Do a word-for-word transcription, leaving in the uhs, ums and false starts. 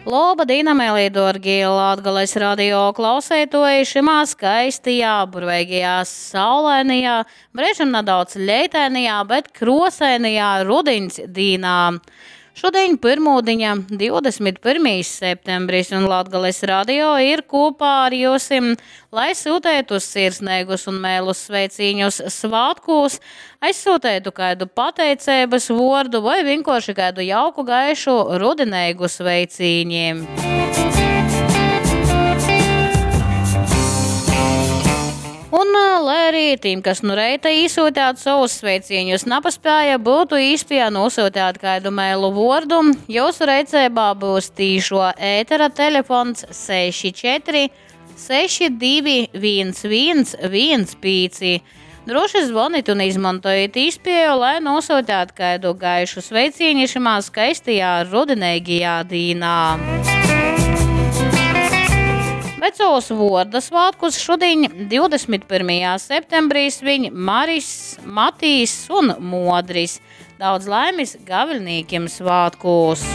Loba dīna, meilī dōrgī Latgales radio klauseitoji šymā skaistajā, burveigajā, saulainajā, breižim nadaudz leitainajā, bet krosainajā rudiņs dīnā. Šudiņ pyrmūdiņa, divdesmit pyrmīs septembris, un Latgales radio ir kopā ar jyusim, lai syuteitu sirsneigus un meilus sveicīņus svātkūs, aizsūteitu kādu pateiceibas vordu vai vienkārši kādu jauku gaišu rudineigu sveicīņi. Un, lai arī tiem, kas nu reita īsūtāt savus sveicīņus nepaspēja, būtu īspēja nosūtīt kādu mailu vordu, jūsu reicībā būs tīšo ētera telefons seši četri seši divi viens viens viens pīci. Droši zvonit un izmantojiet īspēju, lai nosūtāt kādu gaišu sveicīņu šimā skaistajā rudenīgajā dīnā. Bet savus vorda svētkus šodien, divdesmit pirmajā septembrī, sviņ Maris, Matīs un Modris. Daudz laimes gaviļnīkiem svētkos!